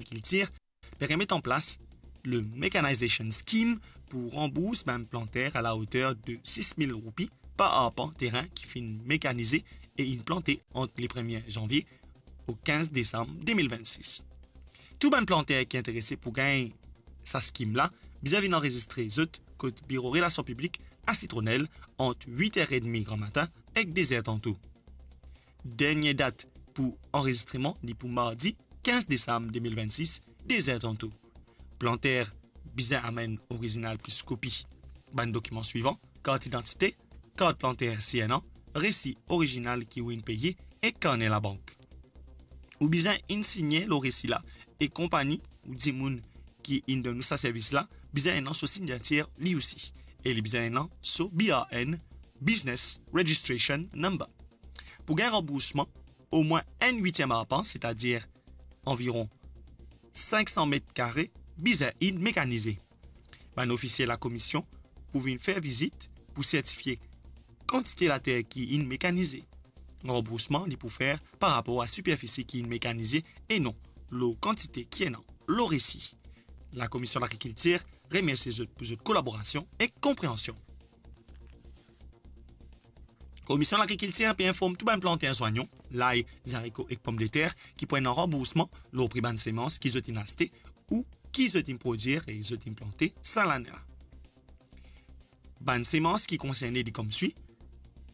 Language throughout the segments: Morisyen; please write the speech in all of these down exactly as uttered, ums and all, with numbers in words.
Lagrikiltir pe remet an plas le Mechanization Scheme pou ranbours bann planter a laoter de sis mil roupi par arpan terin ki finn mekanize e inn plante ant le premie zanvie o kinz desam de mil vennsis. Tou bann planter ki interese pou gagn sa skim la, bizin vinn anrezistre zot kot biro relasion piblik a Sitronel ant wit er edmi gramatin ek de zer tanto. Dernie dat pou anrezistreman, li pou mardi kinz desam de mil vennsis, de zer tanto. Planter bizin amenn orizinal plis kopi bann dokiman swivan: kart idantite, kart planter si enn an, resi orizinal ki ou inn peye ek karne labank. Ou bizin inn signe lor resi la, e konpagni ou dimoun ki inn donn ou sa servis la bizin ena so signatir li osi, e li bizin ena so B R N, Business Registration Number. Pou gagn ranboursman, omwin enn witiem arpan, setadir anviron sink san met kare, bizin inn mekanize. Bann ofisie lakomision pou vinn fer vizit pou sertifie kantite later ki inn mekanize. Ranboursman li pou fer par rapor a siperfisi ki inn mekanize e non lor kantite ki ena lor resi. Lakomision Lagrikiltir remersie zot pou zot kolaborasion ek konpreansion. Komision Lagrikiltir pe inform tou bann planter zwanyon, lay, zariko ek pomdeter ki pou ena ranboursman lor pri bann semans ki zot inn aste ou ki zot inn prodir e zot inn plante sa lane la. Bann semans ki konserne li kom swi: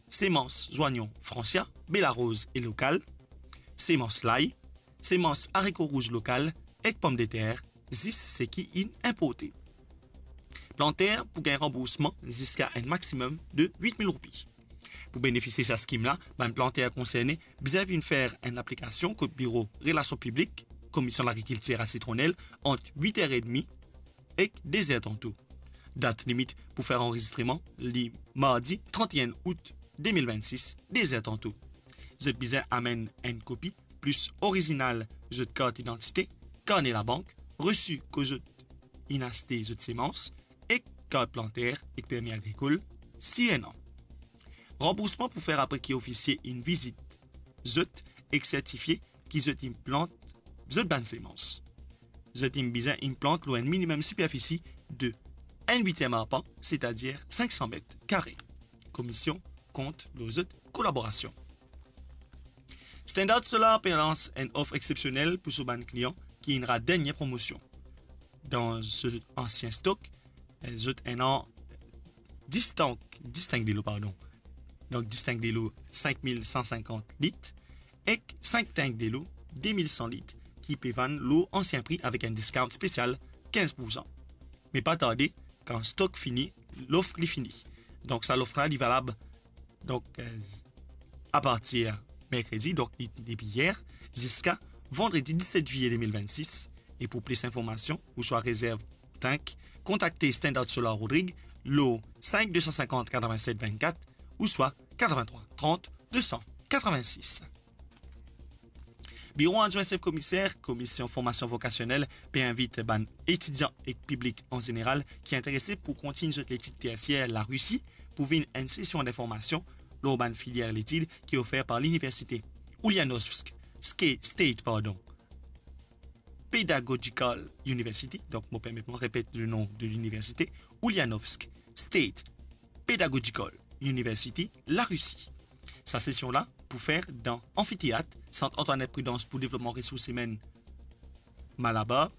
semans zwanyon Francia, Belaroz e lokal, semans lay, semans ariko rouz lokal ek pomdeter, zis seki inn inporte. Planter pou gagn ranboursman ziska enn maximum de wit mil roupi. Pou benefisie sa skim la, bann planter konserne bizin vinn fer enn aplikasion kot biro relasion piblik Komision Lagrikiltir a Sitronel ant wit er edmi ek de zer tanto. Dat limit pou fer anrezistreman li mardi trant e enn out de mil vennsis, de zer tanto. Zot bizin amenn enn kopi plis orizinal zot kart idantite, karne labank, resi kot zot inn aste zot semans, ek kart planter ek permi agrikol si ena. Ranboursman pou fer apre ki ofisie inn vizit zot ek sertifie ki zot inn plant zot bann semans. Zot inn bizin inn plant lor enn minimem siperfisi de enn witiem arpan, setadir sink san met kare. Komision kont lor zot kolaborasion. Standard Solar pe lans enn of exsepsionel pou so bann klian ki inn rat dernie promosion. Dan so ansien stok, eh, zot ena dis tank, dis tank delo, pardon. Donk, dis tank delo sink mil san sinkant lit ek sink tank delo de mil san lit ki pe vann lor ansien pri avek enn discount spesial kinz poursan. Me pa tarde, kan stok fini, lof li fini. Donk, sa lof la, li valab, donk, eh, apartir merkredi, donk, li, depi yer, ziska vandredi diset zilye de mil vennsis. E pou plis informasion ouswa rezerv tank, kontakte Standard Solar Rodrig lor sink de san sinkant katrevinset vennkat ouswa katrevintrwa trant de san katrevinsis. Biro Adwin Sef Komiser, Komision Formasion Vokasionel, pe invit bann etidian ek piblik an zeneral ki interese pou kontign zot letid tersier Larisi pou vinn enn sesion dinformasion lor bann filier letid ki ofer par Liniversite Ulyanovsk Ske-, State, pardon, Pedagogical University. Donk, mo permet mwa repet le nom de l'université, Ulyanovsk State Pedagogical University, Larisi. Sa sesion la pou fer dan anfiteat Sant Antoinette Prudence pou devlopman resours imenn Malabar,